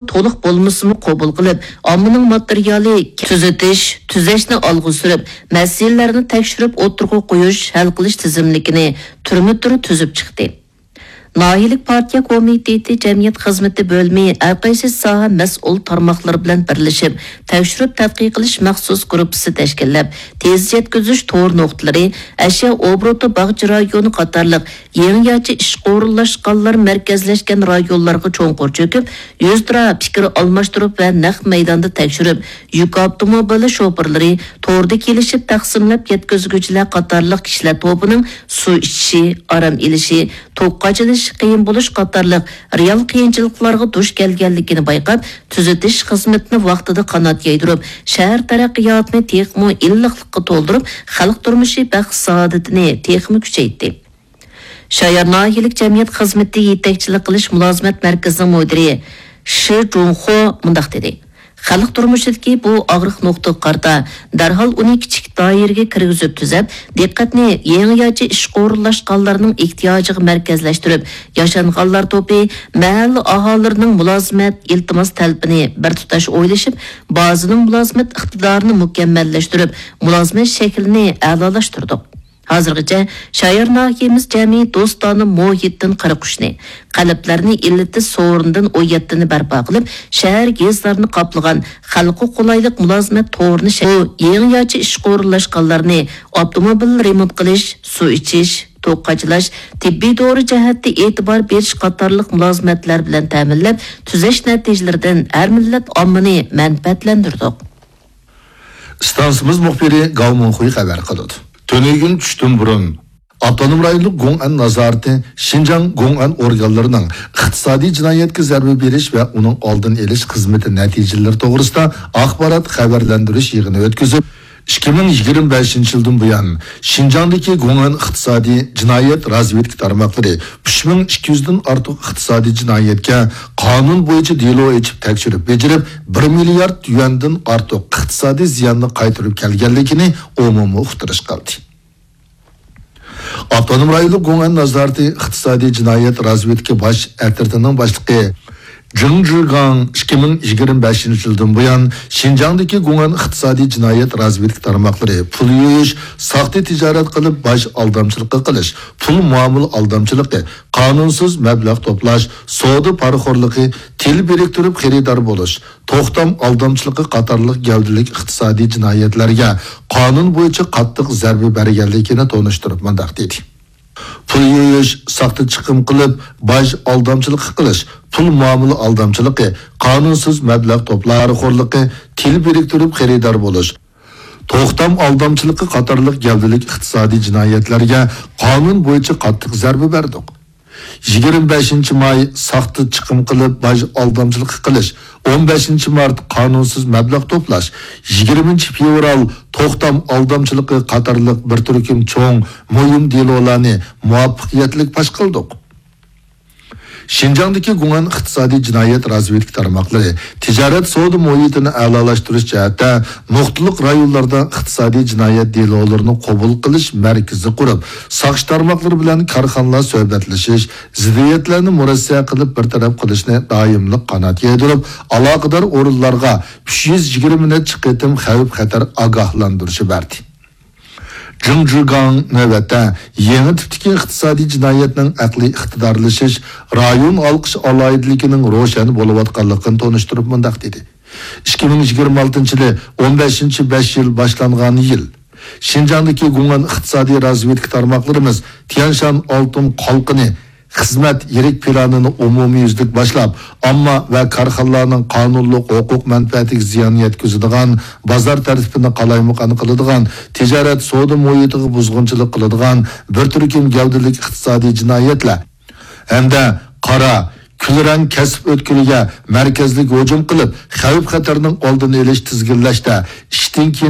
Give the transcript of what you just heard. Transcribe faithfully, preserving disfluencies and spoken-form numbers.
تولۇق بولمىسىمۇ قوبۇل قىلىپ، ئاممىنىڭ ماتېرىيالى تۈزىتىش، تۈزەشنى ئالغا سۈرۈپ، مەسىلىلەرنى تەكشۈرۈپ ئوتتۇرىغا قويۇش، ھەل قىلىش تىزىملىكىنى تۈرمە تۈر تۈزۈپ چىقتى. ناھىيەلىك پارتىيە كومىتېتى جەمئىيەت خىزمىتى بۆلۈمى ھەر قايسى ساھە مەسئۇل تارماقلىرى بىلەن بىرلىشىپ، تەكشۈرۈپ تەتقىق قىلىش مەخسۇس گۇرۇپپىسى تەشكىللەپ، تېز يەتكۈزۈش تور نۇقتىلىرى، ئەشيا ئوبوروتى باغچە رايونى قاتارلىق يېڭىچە ئىشقا ئورۇنلاشقانلار مەركەزلەشكەن رايونلارغا چوڭقۇر چۆكۈپ، يۈزتۇرا پىكىر ئالماشتۇرۇپ ۋە نەق مەيداندا تەكشۈرۈپ، يۈك ئاپتوموبىلى شوپۇرلىرى، توردا كېلىشىپ تەقسىملەپ يەتكۈزگۈچىلەر قاتارلىق كىشىلەر توپىنىڭ سۇ ئىچىشى، ئارام ئېلىشى، توك قاچىلىشى قىيىن بولۇش قاتارلىق رېئال قىيىنچىلىقلارغا دۇچ كەلگەنلىكىنى بايقاپ، تۈزىتىش خىزمىتىنى ۋاقتىدا قانات يايدۇرۇپ، شەھەر تەرەققىياتىنى تېخىمۇ ئىللىقلىققا تولدۇرۇپ، خەلق تۇرمۇشى بەخت-سائادىتىنى تېخىمۇ كۈچەيتتى. شايار ناھىيەلىك جەمئىيەت خىزمىتى يېتەكچىلىك قىلىش مۇلازىمەت مەركىزىنىڭ مۇدىرى شى جۇڭخۇ مۇنداق دېدى: خەلق تۇرمۇشىدىكى بۇ ئاغرىق نۇقتىغا قارىتا، دەرھال ئۇنى كىچىك دائىرىگە كىرگۈزۈپ تۈزەپ، دىققەتنى يېڭىچە ئىشقا ئورۇنلاشقانلارنىڭ ئېھتىياجىغا مەركەزلەشتۈرۈپ، ياشانغانلار توپى، مەھەللە ئاھالىلىرىنىڭ مۇلازىمەت ئىلتىماس تەلىپىنى بىر تۇتاش ئويلىشىپ، بازىنىڭ مۇلازىمەت ئىقتىدارىنى مۇكەممەللەشتۈرۈپ، مۇلازىمەت شەكلىنى ئەلالاشتۇردۇق. ھازىرغىچە شايار ناھىيەمىز جەمئىي دوستانە مۇھىتتىن قىرىق ئۈچنى، قەلبلەرنى ئىللىتىش سورۇنىدىن ئون يەتتىنى بەرپا قىلىپ، شەھەر، يېزىلارنى قاپلىغان خەلققە قولايلىق مۇلازىمەت تورىنى شە-، بۇ يېڭىچە ئىشقا ئورۇنلاشقانلارنى ئاپتوموبىل رېمونت قىلىش، سۇ ئىچىش، توك قاچىلاش، تېببىي دورا جەھەتتە ئېتىبار بېرىش قاتارلىق مۇلازىمەتلەر بىلەن تەمىنلەپ، تۈزەش نەتىجىلىرىدىن ھەر مىللەت ئاممىنى مەنپەئەتلەندۈردۇق. ئىستانسىمىز مۇخبىرى گاۋ مىڭخۇي خەۋەر قىلىدۇ. تۈنۈگۈن چۈشتىن بۇرۇن، ئاپتونوم رايونلۇق گوڭئەن نازارىتى شىنجاڭ گوڭئەن ئورگانلىرىنىڭ ئىقتىسادىي جىنايەتكە زەربە بېرىش ۋە ئۇنىڭ ئالدىنى ئېلىش خىزمىتى نەتىجىلىرى توغرىسىدا ئاخبارات خەۋەرلەندۈرۈش يىغىنى ئۆتكۈزۈپ، ئىككى مىڭ يىگىرمە بەشىنچى يىلدىن بۇيان، شىنجاڭدىكى گوڭئەن ئىقتىسادىي جىنايەت رازۋېدكا تارماقلىرى ئۈچ مىڭ ئىككى يۈزدىن ئارتۇق ئىقتىسادىي جىنايەتكە قانۇن بويىچە دېلو ئېچىپ تەكشۈرۈپ بېجىرىپ، بىر مىليارد يۈەندىن ئارتۇق ئىقتىسادىي زىياننى قايتۇرۇپ كەلگەنلىكىنى ئومۇمىي ئۇقتۇرۇش قىلدى. ئاپتونوم رايونلۇق گوڭئەن نازارىتى ئىقتىسادىي جىنايەت رازۋېدكا باش ئەترىتىنىڭ باشلىقى جېڭ جىگاڭ ئىككى مىڭ يىگىرمە بەشىنچى يىلدىن بۇيان، شىنجاڭدىكى گوڭئەن ئىقتىسادىي جىنايەت رازۋېدكا تارماقلىرى پۇل يۇيۇش، ساختا تىجارەت قىلىپ، باج ئالدامچىلىقى قىلىش، پۇل مۇئامىلە ئالدامچىلىقى، قانۇنسىز مەبلەغ توپلاش، سودا پارىخورلۇقى، تىل بىرىكتۈرۈپ خېرىدار بولۇش، توختام ئالدامچىلىقى قاتارلىق گەۋدىلىك ئىقتىسادىي جىنايەتلەرگە قانۇن بويىچە قاتتىق زەربە بەرگەنلىكىنى تونۇشتۇرۇپ مۇنداق دېدى. پۇل يۇيۇش، ساختا چىقىم قىلىپ، باج ئالدامچىلىقى قىلىش، پۇل مۇئامىلە ئالدامچىلىقى، قانۇنسىز مەبلەغ توپلاش پارىخورلۇقى، تىل بىرىكتۈرۈپ خېرىدار بولۇش، توختام ئالدامچىلىقى قاتارلىق گەۋدىلىك ئىقتىسادىي جىنايەتلەرگە قانۇن بويىچە قاتتىق زەربە بەردۇق. يىگىرمە بەشىنچى ماي ساختا چىقىم قىلىپ باج ئالدامچىلىقى قىلىش، ئون بەشىنچى مارت قانۇنسىز مەبلەغ توپلاش، يىگىرمىنچى فېۋرال توختام ئالدامچىلىقى قاتارلىق بىر تۈركۈم چوڭ، مۇھىم دېلولارنى مۇۋەپپەقىيەتلىك پاش قىلدۇق. شىنجاڭدىكى گۇڭئەن ئىقتىسادىي جىنايەت رازۋېدكا تارماقلىرى تىجارەت سودا مۇھىتىنى ئەلالاشتۇرۇش جەھەتتە نۇقتىلىق رايونلاردا ئىقتىسادىي جىنايەت دېلولىرىنى قوبۇل قىلىش مەركىزى قۇرۇپ، ساقچى تارماقلىرى بىلەن كارخانىلار سۆھبەتلىشىش، زىددىيەتلەرنى مۇرەسسە قىلىپ بىر تەرەپ قىلىشنى دائىملىق قانات يايدۇرۇپ، ئالاقىدار ئورۇنلارغا ئۈچ يۈز يىگىرمە نەچچە قېتىم خەۋپ-خەتەر ئاگاھلاندۇرۇشى بەردى. جېڭ جىگاڭ نۆۋەتتە يېڭى تىپتىكى ئىقتىسادىي جىنايەتنىڭ ئەقلىي ئىقتىدارلىشىش، رايون ھالقىش ئالاھىدىلىكىنىڭ روشەن بولۇۋاتقانلىقىنى تونۇشتۇرۇپ مۇنداق دېدى: ئىككى مىڭ يىگىرمە ئالتىنچى يىلى ئون بەشىنچى بەش يىل باشلانغان يىل. شىنجاڭدىكى گۇڭئەن ئىقتىسادىي رازۋېدكا تارماقلىرىمىز تيەنشان ئالتۇن قالقىنى خىزمەت يىرىك پىلانىنى ئومۇميۈزلۈك باشلاپ، ئامما ۋە كارخانىلارنىڭ قانۇنلۇق ھوقۇق مەنپەئەتىگە زىيان يەتكۈزىدىغان، بازار تەرتىپىنى قالايمىقان قىلىدىغان، تىجارەت سودا مۇھىتىغا بۇزغۇنچىلىق قىلىدىغان بىر تۈركۈم گەۋدىلىك ئىقتىسادىي جىنايەتلەر ھەمدە قارا، كۈلرەڭ كەسىپ ئۆتكىلىگە مەركەزلىك ھۇجۇم قىلىپ، خەۋپ-خەتەرنىڭ ئالدىنى ئېلىش، تىزگىنلەشتە ئىشتىن كېيىن